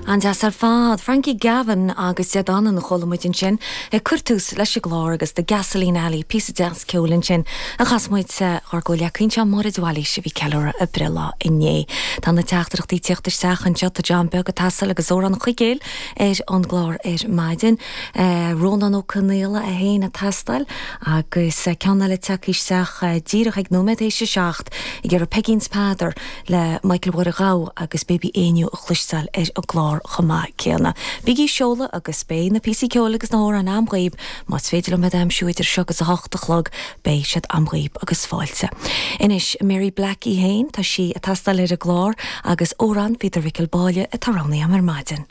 An-deas ar fad. Frankie Gavin agus Dead Danann a chuala muid ansin ag cur tús leis an gclár agus The Gasoline Alley, píosa deas ceoil ansin a chas muid dhár gcomhghleacaí anseo, Máire de Bhailís, a bhí ag ceiliúradh a breithlá inné. Tá na teachtaireachtaí ag tíocht isteach anseo, tá John Beag ag teastáil agus Amhrán an Chuigéil ar an gclár ar maidin. Rónán Ó Conaola é féin ag teastáil agus ceann eile tagtha isteach díreach ag nóiméad théis a 7 ag iarraidh Peigín 's Peadar le Michael Mháire Ghabha agus Baby Éinniú a chloisteáil ar an gclár chomh maith céanna. Bígí ag seoladh agus beidh na píosaí ceoil agus na hamhráin a'm dhaoib, más féidir liom iad a aimsiú idir seo agus 8 a chlog, beidh siad a'm dhaoib agus fáilte. Anois, Mary Black í féin, tá sí ag teastáil ar an gclár agus Amhrán Pheter Mhicil Báille atá roghnaithe a'm ar maidin.